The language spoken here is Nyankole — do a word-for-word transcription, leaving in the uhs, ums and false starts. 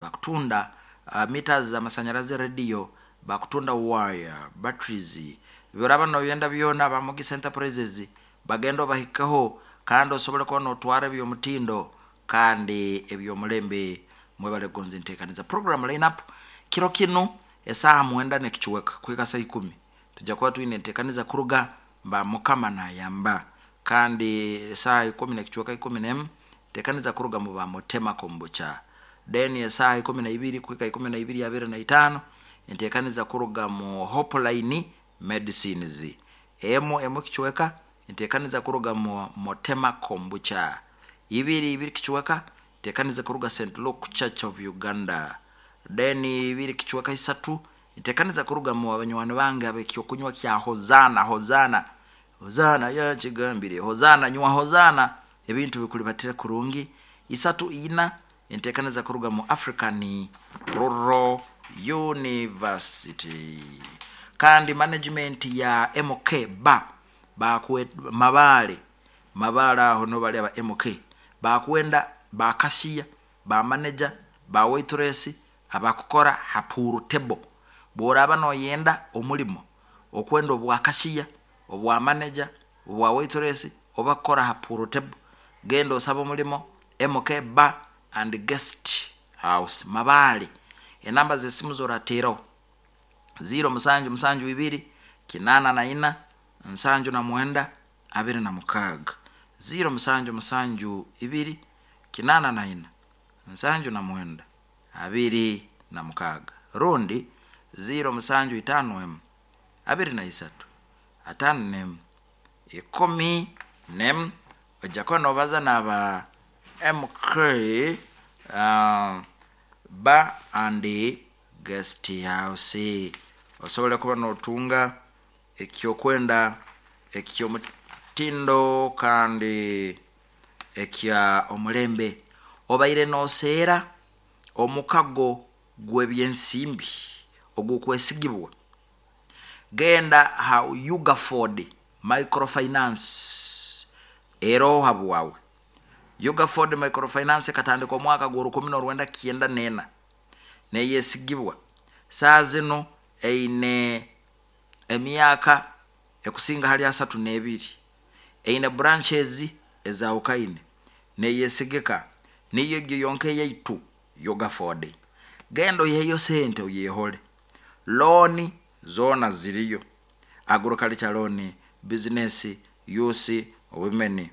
Bakutunda uh, meters z'amasanyalaze, radio, bakutunda wire, batteries, biraba noyenda byona. Ba Mugisa Enterprises bagenda obahikeho kandi osobole kuba notwara ebyomutindo kandi ebyomulembe. Mwebale kugonza entekaniza. Program lineup kiro kinu, esaaha mwenda nekichweka kuhika saa ikumi tujja kuba twine entekaniza kuruga mba Mukama nayamba, kandi esaaha ikumi nekichweka, ikumi nemu, entekaniza kuruga mu ba Mutema Kombucha. Then esaaha ikumi naibiri kuhika ikumi naibiri abiri na itaano, entekaniza kuruga mu Hopeline Medicines. Emu emu kichweka, entekaniza kuruga mu Mutema Kombucha. Ibiri ibiri kichweka, entekaniza kuruga Saint Luke Church of Uganda. Then ibiri kichweka isatu, entekaniza kuruga mu abanywani bange abekyokunywa kya Hozana. Hozana, Hozana yakigambire, Hozana, nywa Hozana, ebintu bikulibatire kurungi. Isatu ina, entekaniza kuruga mu African Rural University kandi management ya M K ba bakwe Mabale. Mabale aho no bali aba M K bakwenda ba cashier, ba manager, ba waitress, abakukora ha pool table. Bworaba noyenda omulimo okwenda obwa cashier, obwa manager, obwa waitress oba kukora ha pool table, genda osaba omulimo M K Bar and Guest House, Mabale. Enamba zesimu zorateraho: ziro musanju musanju ibiri kinana na ina nsanju na mwenda abiri na mukaaga, ziro musanju musanju ibiri kinana na ina nsanju na mwenda abiri na mukaaga, rundi ziro musanju itano emu abiri na isatu atano nemu ikumi nemu. Ojja kuba nobaza naba M K uh, Bar and Guest House, osobole kuba notunga ekyokwenda ekyomutindo kandi ekya omulembe. Obaire noseera omukago gw'ebyensimbi ogukwesigibwa, genda ha Ugaford Microfinance eroho habwawe. Ugaford Microfinance ekatandika omwaka gwa rukumi norwenda kyenda nena, neyesigibwa. Saa zino eine emyaka ekusinga hali asatu nebiri, eine branches ezawukaine, neyesigika, niyo egyo yonka eyaitu Ugaford. Genda oiheyo sente oyehole. Loan zoona ziriyo: agriculture loan, business, youth, women.